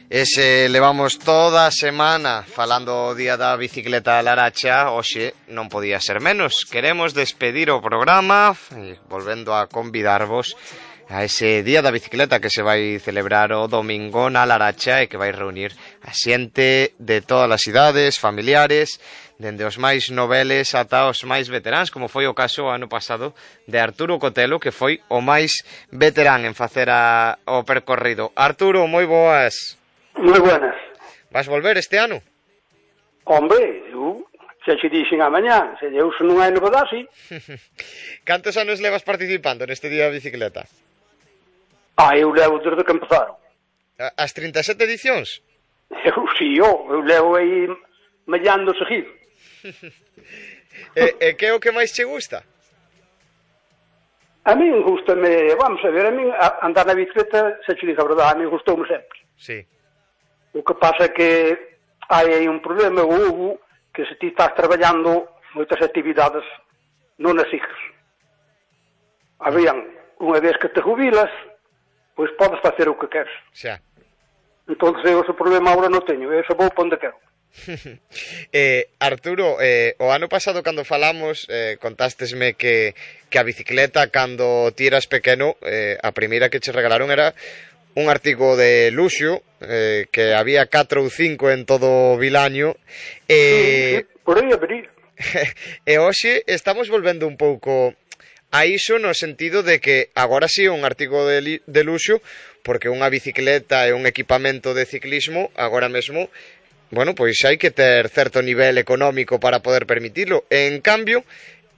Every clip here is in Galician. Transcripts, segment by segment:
Ese levamos toda a semana falando o día da bicicleta da Laracha. Hoxe non podía ser menos. Queremos despedir o programa volvendo a convidarvos a ese día da bicicleta que se vai celebrar o domingo na Laracha e que vai reunir a xente de todas as idades, familiares, dende os máis noveles ata os máis veteráns, como foi o caso o ano pasado de Arturo Cotelo, que foi o máis veterán en facer o percorrido. Arturo, moi boas. Moi buenas. Vas volver este ano? Hombre, eu xa che dixen a mañá, se eu non hai novedade, sí. Cantos anos levas participando neste día da bicicleta? Eu levo desde que empezaron. As 37 edicións? Eu levo aí mellando seguido. E que é o que máis che gusta? A min gustame, vamos a ver, a min andar na bicicleta, se che digo a verdade, a min gustoume sempre. Sí. O que pasa é que hai aí un problema, Hugo, que se ti estás traballando moitas actividades non as sigues. Habían, unha vez que te jubilas, pois podes facer o que queres. Xa. Entón, eu ese problema agora non teño, eu só vou para onde quero. Arturo, o ano pasado cando falamos contástesme que a bicicleta cando ti eras pequeno, a primeira que che regalaron era un artigo de luxo, que había 4 ou 5 en todo o Vilaño, sí, por aí a venir. E hoxe estamos volvendo un pouco a iso no sentido de que agora sí un artigo de luxo, porque unha bicicleta e un equipamento de ciclismo agora mesmo, bueno, pois hai que ter certo nivel económico para poder permitilo. E, en cambio,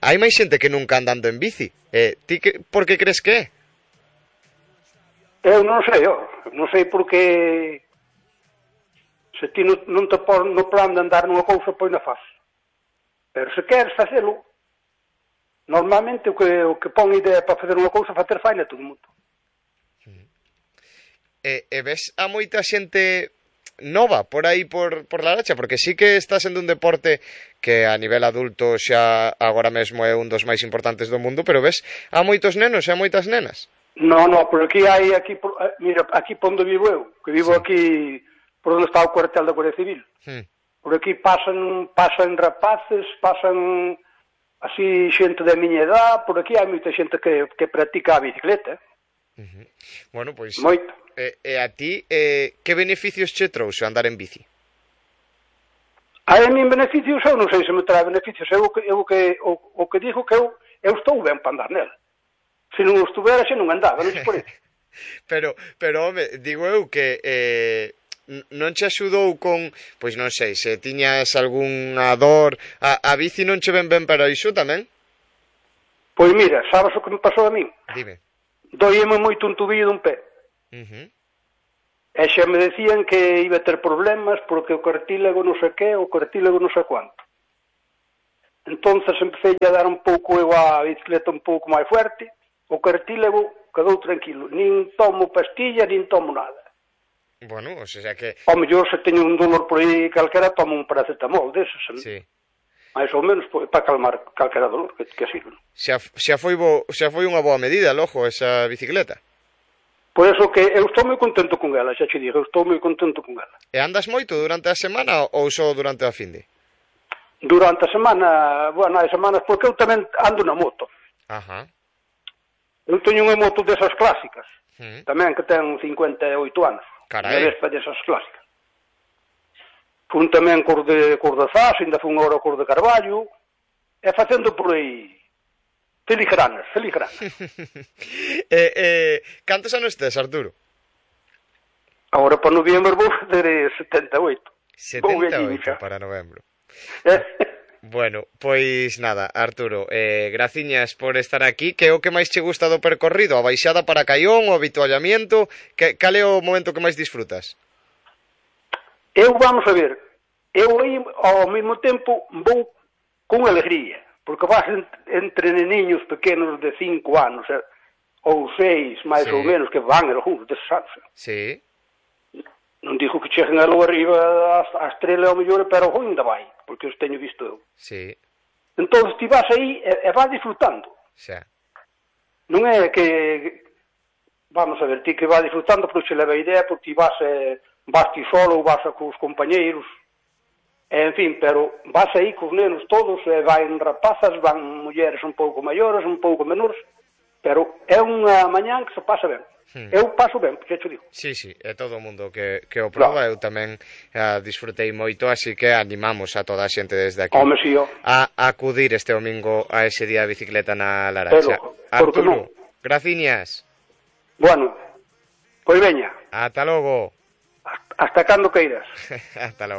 hai máis xente que nunca andando en bici. Ti por que crees que é? Eu non sei porque se ti non te pon no plan de andar nunha cousa, pois na faz. Pero se queres facelo, normalmente o que pon idea para facer unha cousa, facer faina todo o mundo. E ves a moita xente nova por aí por Laracha, porque sí que está sendo un deporte que a nivel adulto xa agora mesmo é un dos máis importantes do mundo, pero ves a moitos nenos e a moitas nenas. Non, por aquí hai, mira, aquí por onde vivo eu, que vivo sí. Aquí por onde está o cuartel da Guardia Civil. Por aquí pasan rapaces, pasan así xente da miña edad, por aquí hai moita xente que practica a bicicleta. Bueno, pois... Moito. E a ti, que beneficios che trouxe andar en bici? A min beneficios, eu non sei se me trae beneficios, eu o que digo que eu estou ben para andar nela. Se non estuvera, xe non andaba, non se por isso. Pero, home, digo eu que non che axudou con, pois non sei, se tiñas algunha dor, a bici non che ben para iso tamén? Pois mira, sabes o que me pasou a min? Dime. Doíame moito un tubillo dun pé. E xa me decían que iba a ter problemas porque o cartílago non sei que, o cartílago non sei quanto. Entonces empecé a dar un pouco eu a bicicleta un pouco máis fuerte, o cartílago quedou tranquilo, nin tomo pastillas, nin tomo nada. Bueno, o sea que... Ao mellor se teño un dolor por aí calquera, tomo un paracetamol deses, sí. Mais ou menos para calmar calquera dolor que sirve. Xa foi unha boa medida, logo, esa bicicleta. Por eso que eu estou moi contento con ela, xa che digo, eu estou moi contento con ela. E andas moito durante a semana ou só durante a finde? Durante a semana, bueno, hai semanas, porque eu tamén ando na moto. Ajá. Eu teño unha moto desas clásicas, tamén que ten 58 anos. Carai. Unha vespa desas clásicas. Fun tamén cor de Zas, ainda fun agora cor de Carballo, e facendo por aí filigranas. Cantos anos tes, Arturo? Agora para noviembro vou fazer 78. 78 para novembro. Bueno, pois nada, Arturo, graciñas por estar aquí. Que é o que máis che gusta do percorrido? A baixada para Caión, o habituallamiento? Cal é o momento que máis disfrutas? Eu, vamos a ver, eu aí ao mesmo tempo vou con alegría, porque vas entre neniños pequenos de 5 anos, ou 6, máis ou menos, que van algúns deses anos. Sí. Non digo que cheguen alo arriba a estrela ao mellor, pero ainda vai, porque os teño visto eu. Sí. Entón, ti vas aí e vas disfrutando. Xa. Non é que, vamos a ver, ti que vas disfrutando, porque se leva a idea, porque ti vas vas ti solo ou vas cos compañeiros, en fin, pero vas aí cos nenos todos, van rapazas, van mulleres un pouco maiores, un pouco menores, pero é unha mañán que se pasa ben. Eu paso ben, porque te digo. Sí, é todo o mundo que o proba, eu tamén disfrutei moito, así que animamos a toda a xente desde aquí a acudir este domingo a ese día de bicicleta na Laracha. Arturo, graciñas. Bueno, pois veña. Ata logo. Hasta cando queiras. Hasta logo.